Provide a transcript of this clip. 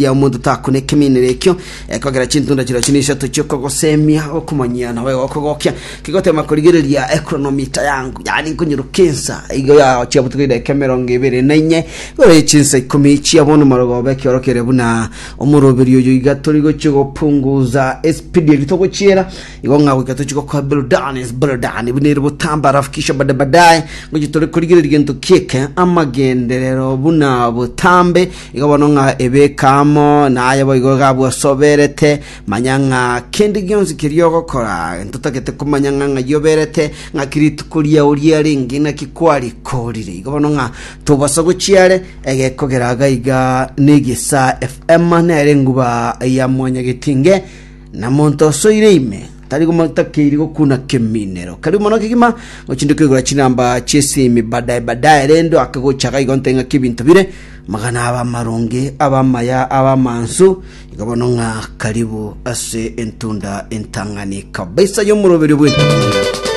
Ya omonto takuna ekeminero ekio, ekogera chintunda chirochio nisato chi'okogosemia, okomanyia na okogokia, kegotema korigereria ekronomita yangu, yaani nkonyeruka ensa igo ya botuko edaika emerongo ebere na inye, igoro ye chinsa ikomi chia bono marogoba ekiorokere buna omoroberi oyo iga tori gochia gopunguza espidi eri togochiera, igo ng'a goika tochie gokoa burudani burudani buna ere botambe alafu kisha bada baadaye ngochia tore korigereria gento kieke amagenderero buna botambe Igo bono ng'a ebeke amo naye boigo iga bwosoberete, manya ng'a kende gionsi keria ogokora, ntotagete komanya ng'a ng'ai oberete, ng'aki rituko riao riarenge, naki kwarikorire. Igo bono ng'a tobasa gochia are, egekogera iga iga n'Egesaa FM nere enguba ya mwanyagetinge, na monto osoire ime, tari takeiri gokuna keminero. Karibu mono kegima, gochinde koigora chinamba chi'esimi baadaye baadaye, rende oake gocha iga igo nte ng'aki ebinto bire, Amagana abe amaronge, abe amaya, abe amansu, igo bono ng'a karibu ase entunda entang'ani kabisa y'omoroberi bw'entunda.